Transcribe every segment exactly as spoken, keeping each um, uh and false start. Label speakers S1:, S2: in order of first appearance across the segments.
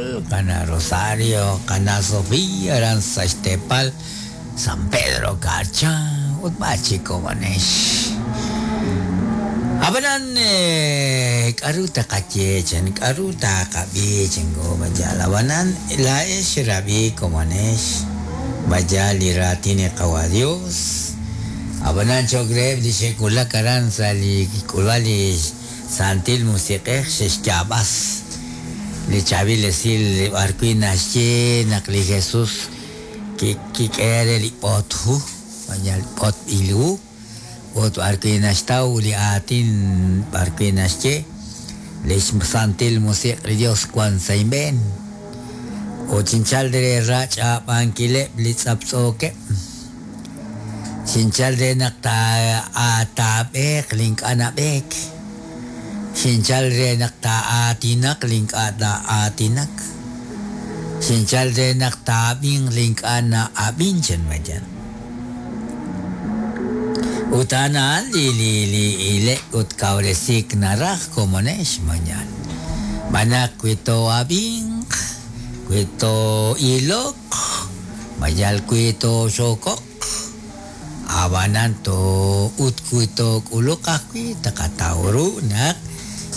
S1: Nicole, Kana Rosario, Kana Sofía, aran sa xteepal San Pedro Carchá ut b'ar chik komonex. Ab'anan k'aru taqaye chan, k'aru taqab'i chan ko mayal. Ab'anan laa'ex xrab'i komonex mayal li raatin li Qawa Dios. Ab'anan cho'q reheb' li xe'wulak aran sa' li k'ulb'al li Santil Musiq'ej xe'xyaab'as li chaab'il esil b'ar wi' naxye naq li Jesús kik'e re li b'otju, mayal b'otb'il hu, ut b'ar wi' naxtaw li aatin b'ar wi' naxye li Santil Musiq' li Dios wan sa' inb'een. Ut xinchal re rach'ab'ankileb' li tz'aptz'ookeb'. Xinchal re naq taab'eeq li ink'a' nab'eek. Xinchal re naq taa'aatinaq li ink'a' taa'aatinak. Xinchal re naq taab'inq li ink'a' na'ab'in chan mayal. Ut a'an li li li ilek ut kawresik naraj komonex mañal. B'anaq wi to'ab'inq, wi to'iloq, mayal wi toxokoq, ab'anan to ut wi took'uluq ajwi' taqataw ru naq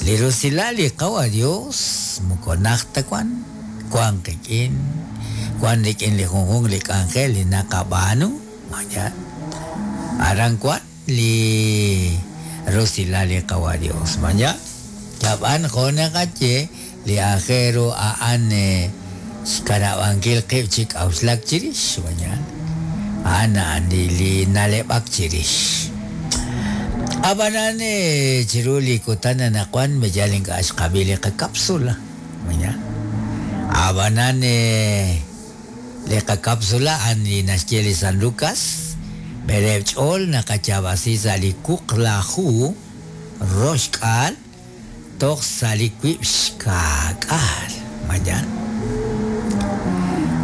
S1: li rusilal li Qawa Dios moko najt ta wan, wan qik'in, wan rik'in li junjunq li k'anjel li naqab'aanu mayal. Aran wan li rusilal li Qawa Dios mayal. Yab'an jo' naqaye li aajel ru a'an xkanab'ankil qib' chi k'auxlak chirix mayal. A'an a'an li li na'leb'ak chirix. Ab'anan chiru li kutan anaqwan mayal ink'a' xqab'i li qakapsula mayal. Ab'anan li qakapsula a'an li naxye li San Lucas b'eleeb' ch'ool naqayaab'asi sa' li wuqlaju roxk'aal toj sa' li wib' xka'k'aal mayal.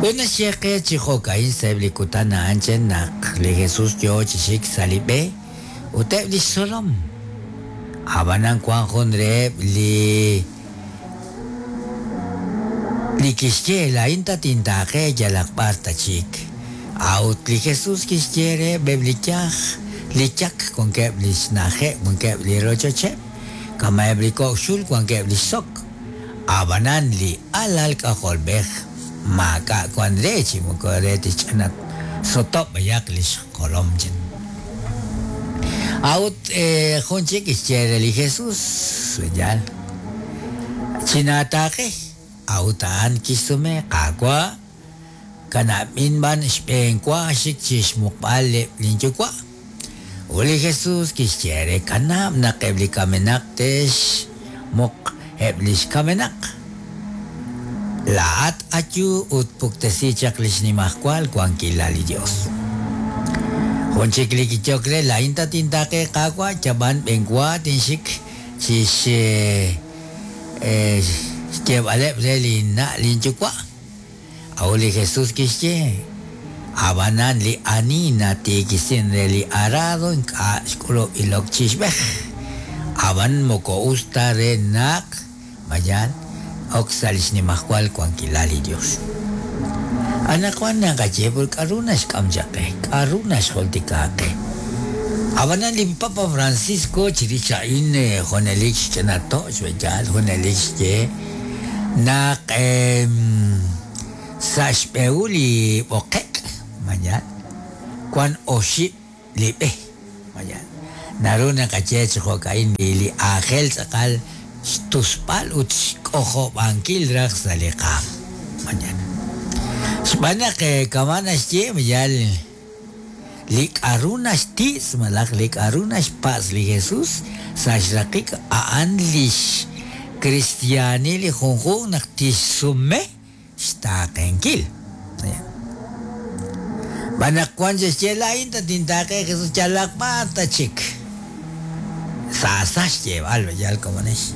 S1: Ut naxye qe chi jo'ka'in sa'eb' li kutan a'an chen naq li Jesús yoo chi xik sa' li b'e ut eb' li xtzolom. Ab'anan wan jun reheb' li li kixye laa'in tatintaaqe yalaq b'ar ta chik. A'ut li Jesús kixye reheb' eb' li yaj, li yak wankeb' li xna'ajeb', wankeb' li rochocheb', kama'eb' li kok' xul wankeb' li xsok. Ab'anan li alal k'ajolb'ej maak'a' wan re chi moko re tixch'ana sotob' b'ayaq li xjolom chan. A'ut jun chik kixye re li Jesús, yal chinaataaqe. A'ut a'an kixsume Qaawa' kanab'in b'an xb'een wa xik chi xmuqb'al linyuwa'. Ut li Jesús kixye re kanab' naq eb' li kamenaq te'xmuq eb' li xkamenaq. Laa'at ayu ut puktesi chaq li xnimajwal wankilal li Dios. Jun chik li kichok re laa'in tatintaaqe Qaawa' yab'an b'een wa tinxik chi xyeeb'aleb' re linna' linyuwa'. A'ut li Jesús kixye ab'anan li ani natiikisin re li arado ink'a' xk'ulub' ilok chi xb'ej. Ab'an moko us ta re naq mayal ok sa' li xnimajwal wankilal li Dios. Anaqwan naqaye pur k'aru naxk'am chaq qe, k'aru naxjultika qe. Ab'anan li Papa Francisco chirix a'in junelik xch'inato' xb'eyal junelik xye naq sa' xb'ehul li b'oqek' mayal wan oxib' li b'e mayal. Naru naqaye chi jo'ka'in li li aajel tz'aqal xtusb'al ut xk'ojob'ankil raj sa' li qaam mayal. Xb'aan naq kama' naxye mayal li k'aru naxti'tz malaj li k'aru naxpatz' li Jesús sa' xraqik a'an li xkristiaanil li junjunq naq tixsume xtaaqenkil. B'an naq wan xexye laa'in tatintaaqe Jesús yalaq b'ar ta chik. Saasa xyeeb'al mayal komonex.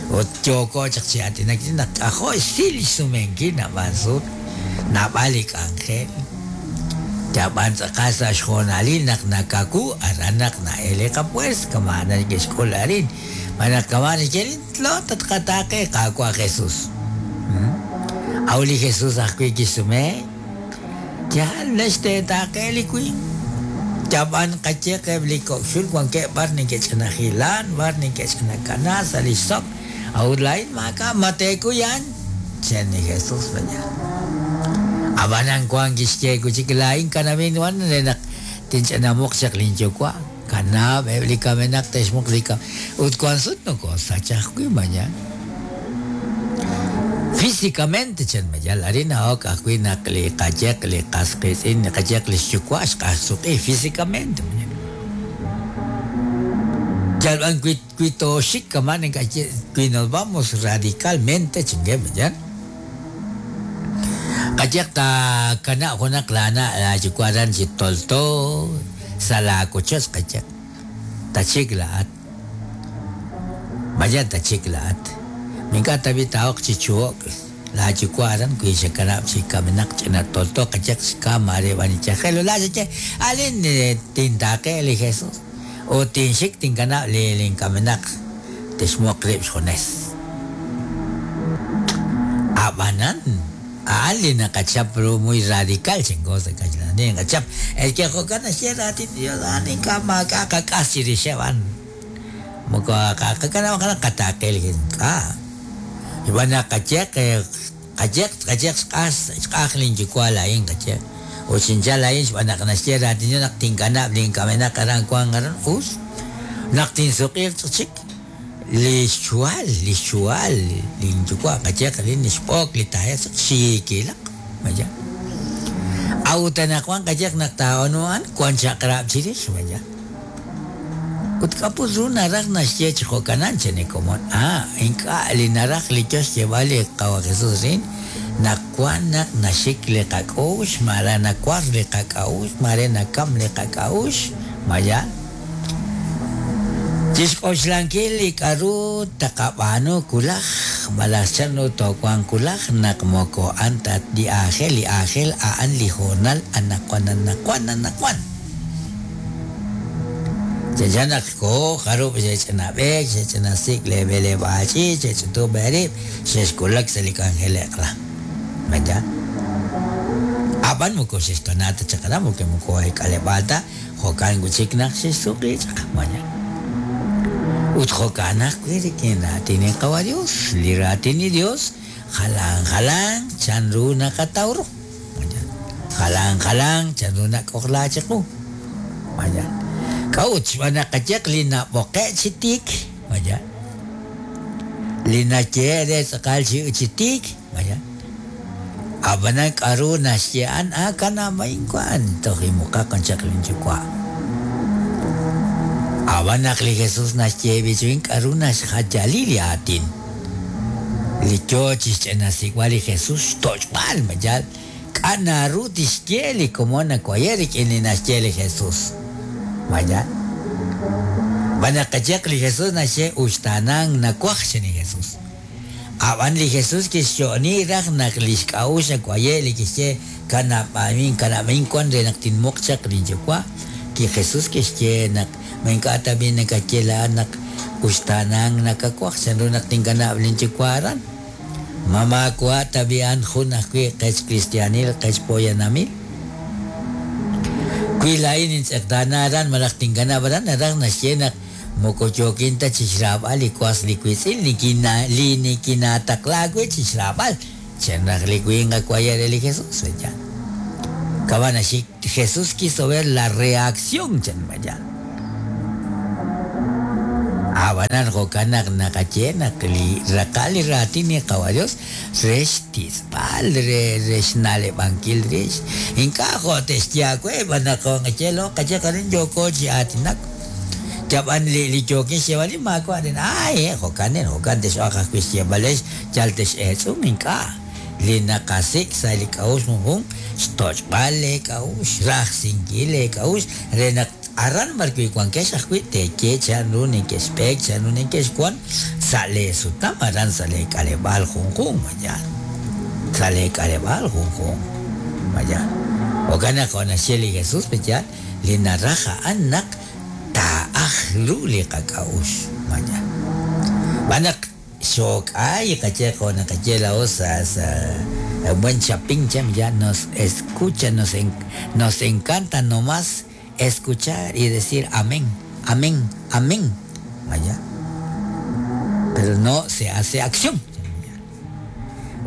S1: Ut yooko chaq chi aatinak naq k'ajo' xsil xsumenkil nab'al sut, nab'al li k'anjel. Yab'an tz'aqal sa' xjoonalil naq nakaku aran naq na'el li qapuers kama' neke'xk'ul arin. B'an naq kama' neke'lin lo tatqataaqe Qaawa' Jesús. Aw li Jesus ajwi' kixsume yaal naxteetaaqe li winq yab'an qayeq eb' li kok'xul wankeb' b'ar neke'ch'inajilan b'ar neke'ch'inakana sa' li xsok awut laa'in maak'a' mateekuyan chen li Jesus mañana ab'anan wan kixye kuchik laa'in kanab'in wan re naq tinch'inamuq chaq linyuwa' kanab' eb' li kamenaq te'xmuq li kam ut wan sut nokosach ajwi' mañana físicamente chen mayal arina ok ajwi' naq li qayeq li qas qiitz'in li qayeq li xyuwa' xq'ajsuq'i físicamente yalb'an wi wi tooxik kama' nakaye wi nos vamos radicalmente chingue mañana qayeq ta kana' junaq lana' layuwa' ran chi tolto sa' laakochoch qayeq tachik la'at mañana tachik la'at Minka tabi taok chi chuok la yuwa' wi xakanab' chi kamenaq ch'ina tolto qayeq xkam are b'anichajel la xaye alin tintaaqe li Jesus o tinxik tinkanab' li linkamenaq texmuq rib' xjunes ab'anan a'an li naqachap ru muy radical chingo sa kaxlanin qachap el que jo'kan naxye raatin Dios a'an ink'a' maak'a' qak'as chirixeb' a'an moko qakanab' qataaqe li ink'a' Ib'an qayeq qayeq qayeq xq'aj xq'aj linyuwa' laa'in qayeq ut xinchal laa'in xb'aan naq naxye raatin naq tinkanab' linkamenaq aran wan aran us naq tinsuq'iiq chik li xchuhal li xchuhal linyuwa' qayeq lin xb'ook li tajeq xiikilaq maya awut anaqwan qayeq naq taa'onu'an wan chaq'rab' chirix maya ut k'apus ru naraj naxye chi jo'kanan chene komon ah ink'a' li naraj li yo xyeeb'al li qawa Jesus rin naq wan naq naxik li qak'ux mare nakwar li qak'a'ux mare nakam li qak'a'ux maya chixk'oxlankil li k'aru taqab'aanu kulaj malaj chanru toowanq kulaj naq moko a'an ta li aajel li aajel a'an li hoonal anaqwan anaqwan anaqwan chanchan naq koo jarub' xe'ch'inab'eek xe'ch'inasik' leeb'eleb'aach'iich xe'ch'utub' eerib' xe'xkulak sa' li k'anjel eq'la maya ab'an moko xe'xtona ta chaq aran porque moko k'aleb'aal ta jo'kan wi'chik naq xe'xsuq'i chaq maya ut jo'kan ajwi' rik'in raatin li qawa Dios li raatin li Dios jalan jalan chanru naqataw ru maya jalan jalan chanru nak'ojla chiqu maya k'a'ut xb'aan naq qayeq li nab'oqe' chi tiik maya li nayehe' re tz'aqal chi chi tiik maya ab'anan k'aru naxye a'an ah kanab'ain wan toj imuqaq chaq linyuwa' ab'an naq li Jesus naxye b'ichuin k'aru naxjayali li aatin li yo chixch'inasik'b'al li Jesus xtoch'b'al mayal k'a' naru tixye li komon nawaye rik'in li naxye li Jesus maya b'an naq qayeq li Jesus naxye uxtaanan nawaj chen li Jesus ab'an li Jesus kixyo'ni raj naq li xk'a'ux nawaye li kixye kanab'amin kanab'amin wan re naq tinmuq chaq linyuwa' ki Jesus kixye naq ma ink'a' tab'i nakaye la'an naq uxtaanan nakawaj chanru naq tinkanab' linyuwa' aran ma maawa' tab'i a'an jun ajwi' qech cristianil qech poyanamil wi laa'in intz'eqtaana aran malaj tinkanab' aran naraj naxye naq moko yookin ta chixraab'al li was li wiitz'in nikina li nikinataqla wi' chixraab'al chen raj li winq akwaye re li Jesus ya kaban axik Jesús quiso ver la reacción chen maya ab'anan jo'kan naq naqaye naq li raqal li raatin li qawa Dios re xtisb'al re re xna'leb'ankil rix ink'a' jo' te'xye aawe b'an naq qaye lo qaye qarin yooko chi aatinak yab'an li li yookin xyeeb'al li maawa' rin ay jo'kan jo'kan tex'oq ajwi' xyeeb'alex yal tex'eetz'un ink'a' li naqasik' sa' li k'a'uxl junjun xtoch'b'al leek'a'uxl rajsinkil leek'a'uxl re naq aran b'ar wi' wankex ajwi' teeye chanru neke'xb'eek chanru neke'xwan sa' leesutam aran sa' leek'aleb'aal junjun maya sa' leek'aleb'aal junjun maya jo'kan naq jo' naxye li Jesus maya li naraj a'an naq taa'aj ru li qak'a'uxl maya b'an naq xok'ay qache qona qache la osa sa buen chapín ya nos escucha, nos, en, nos encanta nomás escuchar y decir amén, amén, amén. Vaya. Pero no se hace acción.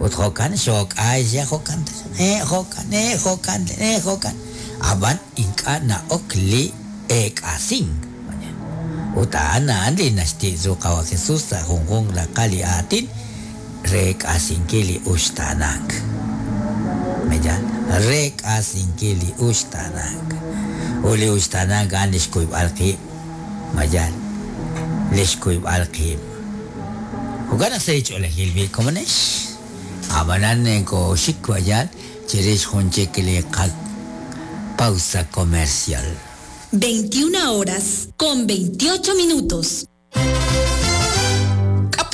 S1: Ut jokan xok'ay ya jokan eh jokan eh jokan eh jokan aban inka na ok li ek'asing. Ut a'an a'an li naxti'su qawa Jesús sa junjunq raqal li aatin rek'asinkil li uxtaanank. Meyan rek'asinkil li uxtaanank. Ut li uxtaanank a'an li xkuyb'al qib'. Mayan li xkuyb'al qib'. Jo'kan naq sa' ch'oolejil bi komonex. Ab'anan koxik wayal chirix jun chik li pausa comercial.
S2: veintiuna horas con veintiocho minutos.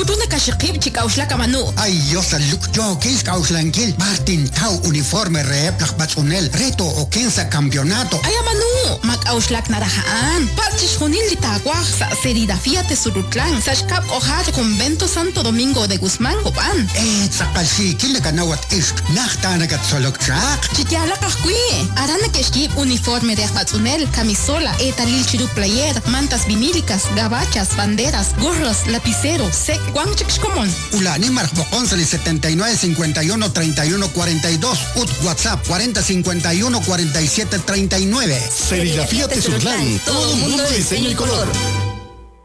S3: Putuna kashiqib chik'awxlak amanu.
S4: Ay, Dios, luk yo k'awxlankil Martin Tau uniforme reheb laj b'atz'unel reto okensa campeonato.
S3: Ay amanu, mak'awxlak naraja'an. Patz chixjunil li taawaj sa' serigrafía Tesurutlan, sa' xkab' k'ojar Convento Santo Domingo de Guzmán Copán.
S4: Eh, tz'aqal xiikil nakanawat ixq naj taanakatzolok chaq.
S3: Chiyalaq ajwi'. Aran nakexkib' uniforme de aj b'atz'unel, camisola, etalil chiru player, mantas vinílicas, gabachas, banderas, gorros, lapicero, sec, guanchik xkomon.
S4: Ulani marjboqon sali setenta y nueve cincuenta y uno treinta y uno cuarenta y dos ut WhatsApp cuarenta cincuenta y uno cuarenta y siete treinta y nueve.
S5: Serigrafía Tesurlán, todo un mundo de diseño y color.